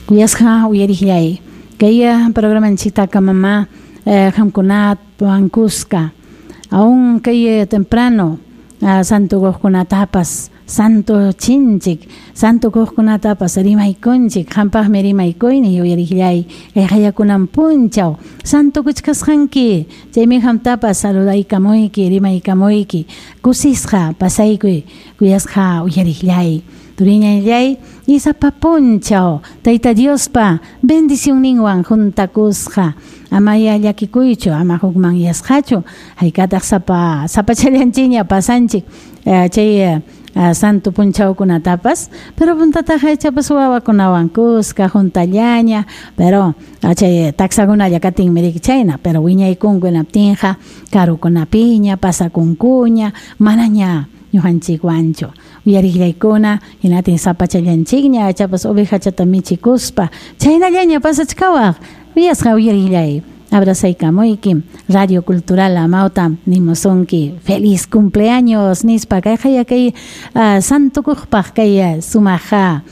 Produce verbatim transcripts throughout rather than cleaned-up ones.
Kuyasqa uyariqllay kay programanchiktaka mama qamkunatwan kuska aún kay temprano santo kuqkunatapas santo chinchik santo kuqkunatapas rimaykunchik qampaqmi rimaykuyni uyariqllay kay qayakunan punchaw santo kuchkasqanki chaymi qamtapas saludaykamuyki rimaykamuyki kusisqa pasaykuy kuyasqa uyariqllay turiñallay y sapa punchaw Tayta Diospa bendicionninwan juntakusqa amaya llakikuychu ama hukmanyasqachu haykataq sapa sapachallanchikña pasanchik chay santo punchawkunatapas pero puntataqa ichapas wawakunawan kuska juntallaña pero chay taksakunalla katinmi riki chayna pero wiñaykunku hinaptinqa karukunapiña pasakunkuña manaña ñuqanchikwanchu uyariqllaykuna hinatin sapachallanchikña ichapas ovejachata michikuspa chaynallaña pasachkawaq uyasqa uyariqllay abrazaykamuyki Radio Cultural Amauta nimusunki feliz cumpleaños nispa kay qaya kay santo kuqpaq kay sumaqa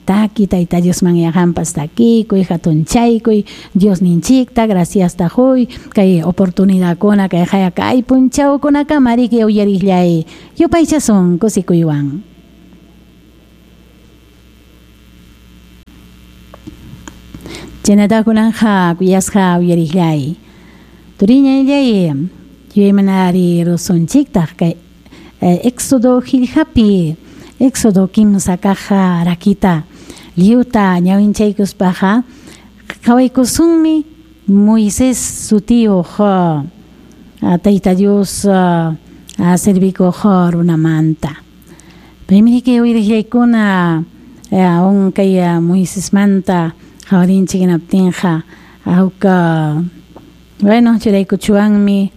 taki Tayta Diosman yaqanpas takikuy hatunchaykuy Diosninchikta graciasta huy kay oportunidadkuna kay qaya kay punchawkunakama riki uyariqllay yupaychasun kusikuywan. Chaynatakunanja kuyasqa uyariqllay turiñallay yuyaymanari rusunchiktaq kay Éxodo qillqapi Éxodo kimsa kaq rakita lliwta ñawinchaykuspaqa qhawaykusunmi Moisés sutiyuq Tayta Dios servikuq runamanta paymi riki uyariqllaykuna aún kay Moisesmanta qhawarinchik hinaptinqa huk bueno churaykuchuwanmi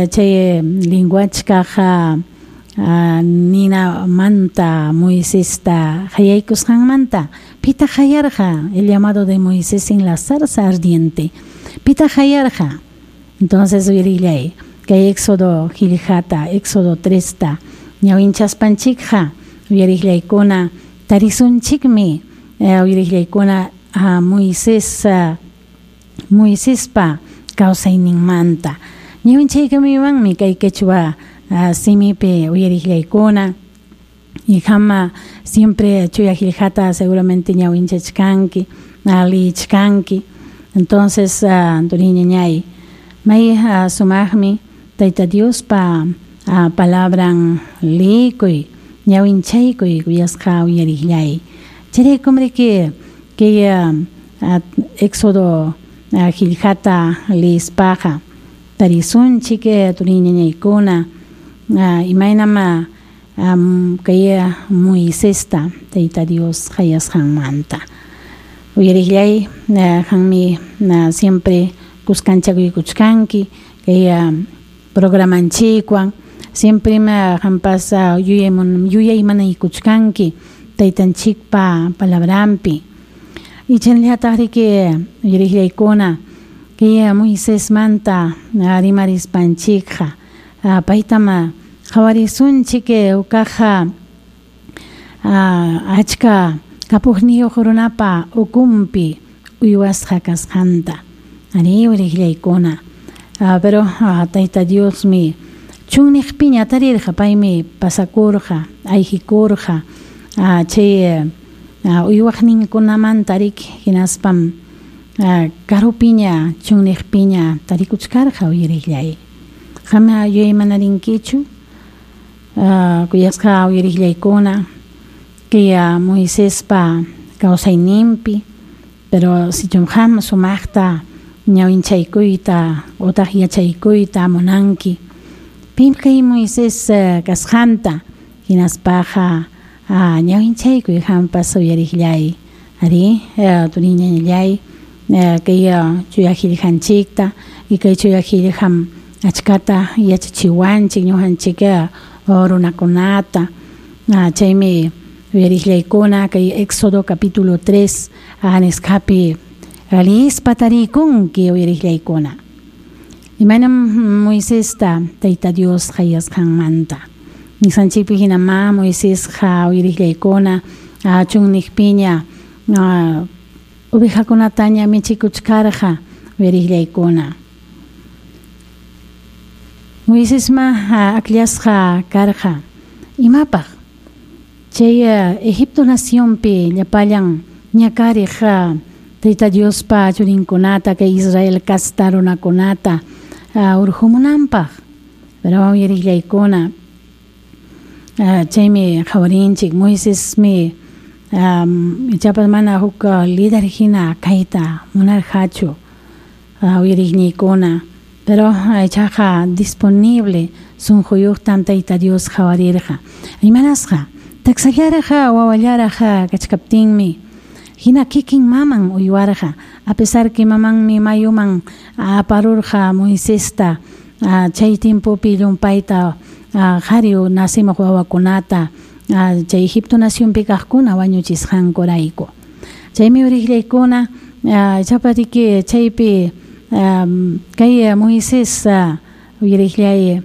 chay linguachkaq ninamanta Moisesta qayaykusqanmanta pitaq qayarqa el llamado de Moisés en la zarza ardiente pitaq qayarqa entonces uyariqllay kay Éxodo qillqata Éxodo tresta ñawinchaspanchikqa uyariqllaykuna tarisunchikmi uyariqllaykuna Moisés Moisespa kawsayninmanta ñawinchaykamuwanmi kay quechua simipi uyariqllaykuna y qama siempre chuya qillqata seguramente ñawinchachkanki liichkanki entonces turiñañay may sumaqmi Tayta Diospa palabran liykuy ñawinchaykuy kuyasqa uyariqllay chayraykum riki kay Éxodo qillqata liyispaqa tarisunchik turiñañaykuna imaynam kay Moisesta Tayta Dios qayasqanmanta uyariqllay qanmi siempre kuskanchakuykuchkanki kay programanchikwan siempre qampas yuyaymanaykuchkanki taytanchikpa palabranpi y chaynallataq riki uyariqllaykuna kay Moisesmanta rimarispanchikqa paytam qhawarisunchik uqaqa achka kapuqniyuq runapa ukunpi uywasqa kasqanta ari uyariqllaykuna pero Tayta Diosmi chunniqpiña tarirqa paymi pasakurqa ayqikurqa chay uywaqninkunamanta riki hinaspam karupiña chunniqpiña tarikuchkarqa uyariqllay qama yuyaymanariykichu kuyasqa uyariqllaykuna kay Moisespa kawsayninpi pero sichum qam sumaqta ñawinchaykuyta utaq yachaykuyta munanki pim kay Moisés kasqanta hinaspaqa ñawinchaykuy qampas uyariqllay ari turiñallay kay chuya qillqanchikta y kay chuya qillqam achkata yachachiwanchik ñuqanchik runakunata chaymi uyariqllaykuna kay Éxodo capítulo tres nisqapi liyispa tarikunki uyariqllaykuna imaynam Moisesta Tayta Dios qayasqanmanta nisqanchikpi hinamá Moisesqa uyariqllaykuna chunniqpiña ovejakunataña michikuchkarqa uyariqllaykuna. Moisesma akllasqa karqa imapaq chay Egipto nacionpi llapallan ñakariq Tayta Diospa churinkunata kay Israel kasta runakunata urqumunanpaq. Pero uyariqllaykuna chaymi qhawarinchik Moisesmi ichapas mana huk líder hina kayta munarqachu uyariqniykuna, pero ichaqa disponible sunquyuqtam Tayta Dios qhawarirqa. Imanasqa taksallaraq wawallaraq kachkaptinmi hina kikin maman uywarqa, a pesar que mamanmi mayuman aparurqa Moisesta chay tiempopi llumpayta qhari nacimuq wawakunata chay Egipto nacionpi kaqkuna wañuchisqankurayku. Chaymi uriqllaykuna ichapariki chaypi kay Moisés uyariqllay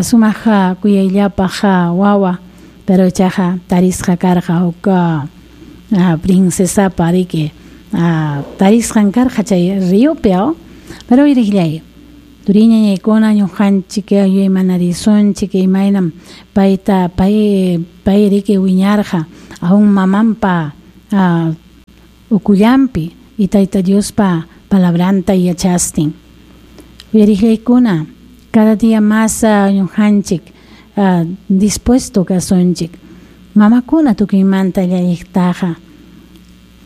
sumaq kuyayllapaq wawa, pero ichaqa tarisqa karqa huk princesapa riki tarisqan karqa chay ríopi, pero uyariqllay turiñañaykuna ñuqanchik yuyaymanarisunchik imaynam payta pay pay riki wiñarqa aún mamanpa ukullanpi y Tayta Diospa palabranta yachastin. Uyariqllaykuna cada día más ñuqanchik dispuesto kasunchik mamakuna tukuymanta llalliqtaqa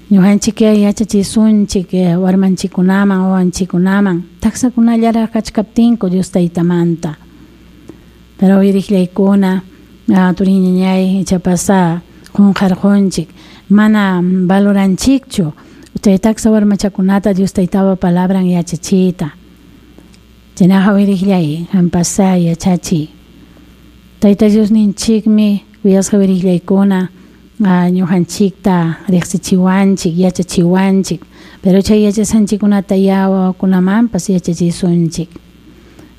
ñuqanchik yachachisunchik warmanchikkunaman wawanchikkunaman taksakunallaraq kachkaptinku Dios Taytamanta. Pero uyariqllaykuna turiñañay ichapas qunqarqunchik mana valoranchikchu chay taksa warmachakunata Dios Taytapa palabran yachachiyta. Chaynaqa uyariqllay qampas yachachiy. Tayta Diosninchikmi kuyasqa uyariqllaykuna ñuqanchikta riqsichiwanchik yachachiwanchik, pero chay yachasqanchikkunata ya wawakunamanpas yachachisunchik.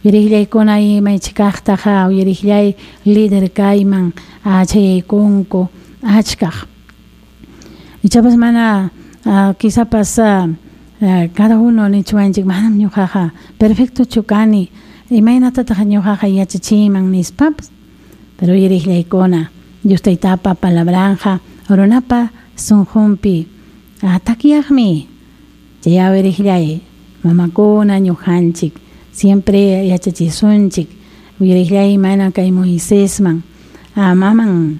Uyariqllaykuna imaychikaqtaqa uyariqllay líder kayman chayaykunku achkaq. Ichapas mana quizapas cada uno nichwanchik manam ñuqaqa perfectochu kani imaynatataq ñuqaqa yachachiyman nispapas, pero uyariqllaykuna Dios Taytapa palabranja runapa sunqunpi takyaqmi. Chay uyariqllay mamakuna ñuqanchik siempre yachachisunchik uyariqllay imayna kay Moisesman maman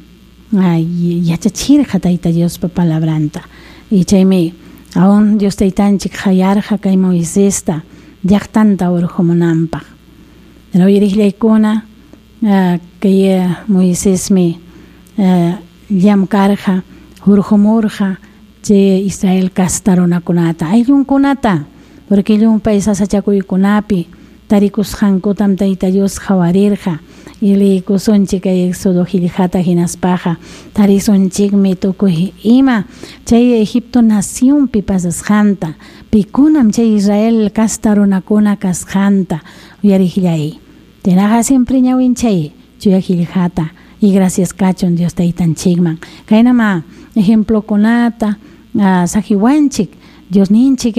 yachachirqa Tayta Diospa palabranta. Y chaymi aún Dios Taytanchik qayarqa kay Moisesta llaqtanta urqumunanpaq. Pero uyariqllaykuna kay Moisesmi llamkarqa hurqumurqa chay Israel kasta runakunata ayllunkunata, porque llumpay sasachakuykunapi tarikusqankutam Tayta Dios qhawarirqa. Y liykusunchik kay Éxodo qillqata hinaspaqa tarisunchikmi tukuy ima chay Egipto nacionpi pasasqanta, pikunam chay Israel kasta runakuna kasqanta uyariqllay. Chaynaqa siempre ñawinchay chuya qillqata y gracias kachun Dios Taytanchikman. Kaynama ejemplokunata saqiwanchik Diosninchik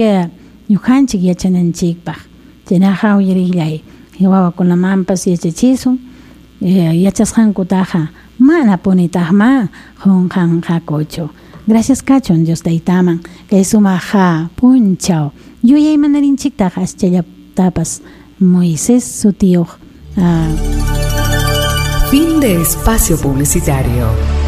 ñuqanchik yachananchikpaq. Chaynaqa uyariqllay wawakunamanpas yachachisun yachasqankutaqa mana punitaqma qunqanqakuchu. Gracias kachun Dios Taytaman kay sumaq punchaw yuyaymanarinciktaqa aschallatapas Moisés sutiyuq. Fin de espacio publicitario.